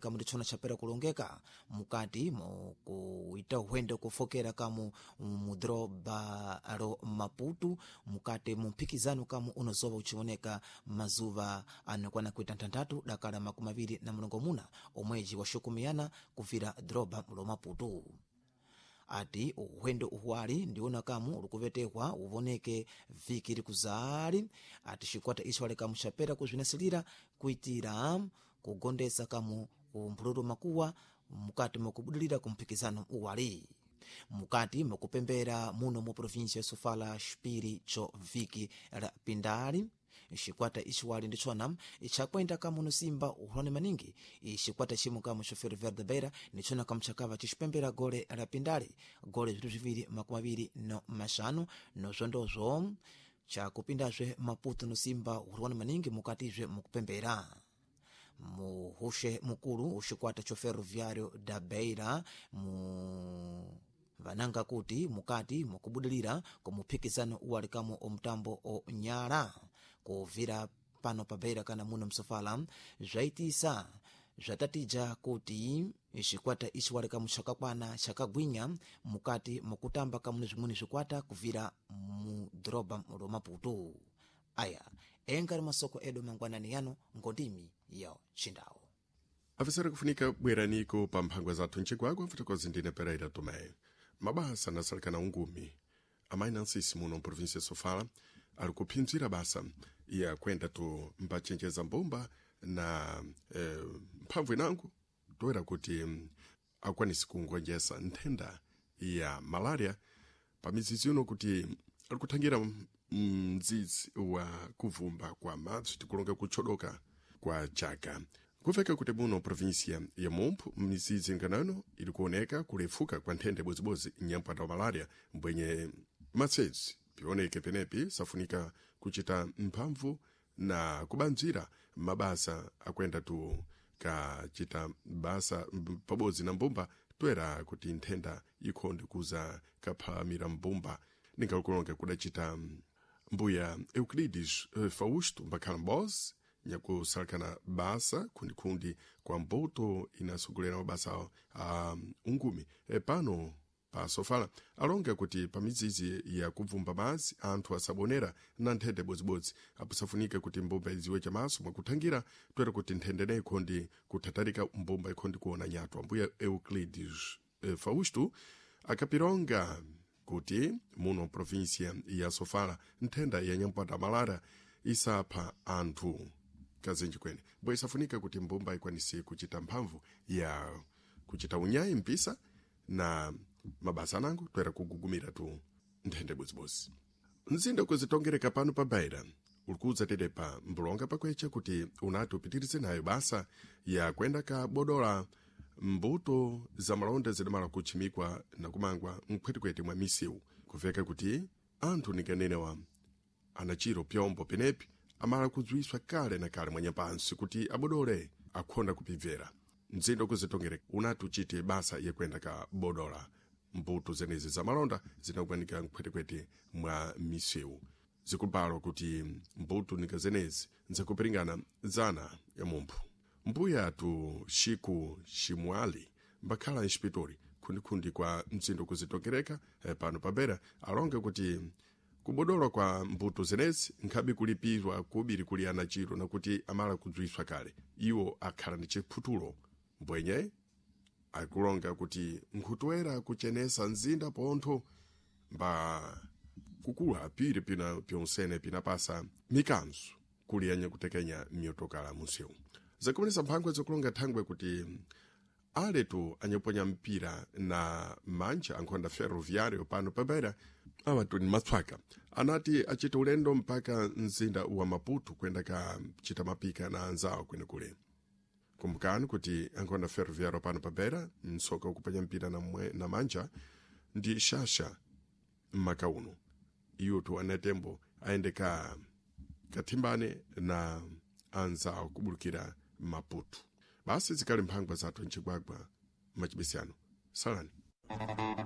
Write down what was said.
Kamu ndichona chapera kulongeka mukati mukuita uhwendo kufokera kamu mudhoroba ro Maputo mukati mumphikizano kamu unozova uchioneka mazuva anokwana kuita ntanthatu dakala 29 omwezi wa xukumiyana kuvira dhoroba lo Maputo. Ati uhwendo uhuwali ndiwona kamu ulikuvetehwa uvoneke viki likuzali. Ati xikwata ixo ali kamu xapera kuzvinasilira kuitira kugondesa kamu umphululu makuwa mukati mukubudilira kumphikizano uwali mukati mukupembera muno mu província ya Sofala xipiri cho viki la pindali. Xikwata ixiwali ndichona ichakwenda kamu nosimba uhulani maningi xikwata chimwe kamu cho Ferroviário da Beira nichona kamu chakava chixipembera gole la pindali gole 225 nozvondozvo chakupindazve Maputo nosimba uhulani maningi mukatizve mukupembera. Muhushe mukulu uxikwata cho Ferroviário da Beira mu vananga kuti mukati mukubudilira kumuphikizano uwali kamu omtambo onyala kuvira pano pa Beira kana muno msofala zvaitisa zvatatija kuti xikwata ixi wali kamu xakakwana xakagwinya mukati mukutamba kamu zvimweni zvikwata kuvira mu dhoroba lo Maputo. Aya engari masoko edu mangwanani yano ngondimi ya xindawo. Afisera kufunika bweraniko pa mphangwa zathu ncigwagwa mfotokozi ndine Pereira Tomé. Mabasa anasalikana ungumi amayi nansisi muno mprovinsia ya Sofala ali kuphinzira basa ya kwenda tu mbachenjeza mbumba na mphamvu inango toera kuti akwanisi kungonjesa nthenda ya malaria pa mizizi ino kuti ali kuthangira mdzidzi wa kuvumba kwa madzi tikulonga kutchodoka kwa chaka. Kuveka kuti muno província ya Mompho mizizi nganano ili kuoneka kulefuka kwa nthenda ibozibodzi nyampanda wa malaria mbwenye matsezi pioneke penepi safunika kuchita mphamvu na kubanzira mabasa akwenda tu kachita basa pabodzi na mbumba toera kuti nthenda ikhonde kuza kaphalamira mbumba. Ningakulonga kudacita mbuya Euclides Fausto mbakhala mbozi nyakusalakana basa khundikhundi kwa mbuto inasogolera mabasa a ungumi pano pa Sofala alonga kuti pa mizizi ya kubvumba madzi anthu asabonera na nthenda ibodzibodzi apusafunike kuti mbumba idziwe chamaso mwakuthangira toera kuti nthenda ineyi ikhondi kuthatarika mbumba ikhondi kuona nyatwa. Mbuya Euclides Fausto akapironga kuti muno província ya Sofala nthenda ya nyampanda malara isapha anthu kazinji kwene bwe isafunika kuti mbumba ikwanise kuchita mphamvu ya kuchita unyayi mpisa na mabasa anango toera kugugumira tu nthenda ibodzibodzi. Mzinda kuzitongereka pano pa Beira ulikuudza tete pa mbulonga pakweche kuti unati upitirize nayo basa ya kwenda ka bodola mbuto za malonda zidamala kutchimikwa na kumangwa mkhwetikwete mwa misiwu. Kuveka kuti anthu ninganenewa anachiro pyombo penepi amala kudziwiswa kale na kale mwanyapansi kuti abodole akhonda kupibvera. Mzinda ukuzitongereka unati uchite basa yakwenda ka bodola mbuto zenezi za malonda zinakwanika mkhwetekwete mwa misewu. Zikupalwa kuti mbuto nika zenezi nzakupiringana zana ya mumphu. Mbuya tu Xiku Ximwali mbakhala inspitori khundikhundi kwa mzinda ukuzitongereka pano pa Beira alonge kuti kubodolwa kwa mbuto zenezi nkhabe kulipirwa kubiri kuli anachiro nakuti amala kudziwiswa kale iwo akhala ndi chiphutulo mbwenye akulonga kuti nkhutwera kuchenesa mzinda pontho mba kukula piri pina pyonsene pinapasa mikanzo kuliyanya kutekenya miyotokala munsewu. Zakumenesa mphangwe zokulonga thangwe kuti aletu anyaponya mpira na manja ankhonda Ferroviário pano pa Beira awatu ni matswaka anati achita ulendo mpaka mzinda wa Maputo kwenda kachita mapika na anzawo kwenekule. Kumbukani kuti ankhonda Ferroviário pano pa Beira msoka ukuponya mpira na manja ndi shasha mmaka uno iwotu anatembo aende ka kathimbane na anzawo kubulukira Maputo. Basi zikali mphangwa zathu ncigwagwa machibisiyano salani.